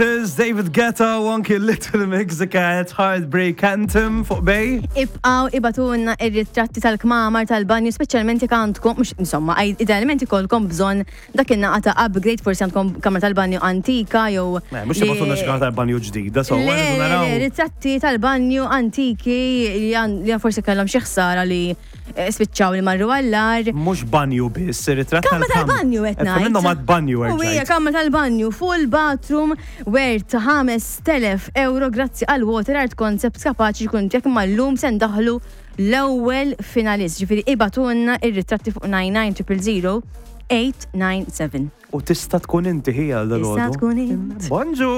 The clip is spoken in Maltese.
There's David Guetta u anki Little Mix the Cat Heartbreak Anthem fuq Bay. Ibqaw ibatunna ir-ritratti tal-kmamar tal-banju, speċjalment jekk għandkom, mhux insomma, idealment ikollkom bżonn dak in-naqa ta' upgrade, forsi għandkom kamra tal-banju antika jew. Eh, mhux ibatunna xi kamra tal-banju ġdida, so naraw. Ritratti tal-banju antiki li forsi kellhom xi ħsara li Eh, spiċċaw li marru għallar. Mhux banju biss, ritratt Kamra tal-banju qed ngħid. Minnhom għad banju U hija kamra tal-banju full bathroom worth 5000 euro grazzi għal Water Art Concept kapaċi jkun tiegħek imma llum se ndaħlu l-ewwel finalist. Ġifieri ibatunna ir-ritratti fuq 99 000 897. U tista' tkun inti ħija għal Tista' tkun int. Bonġu!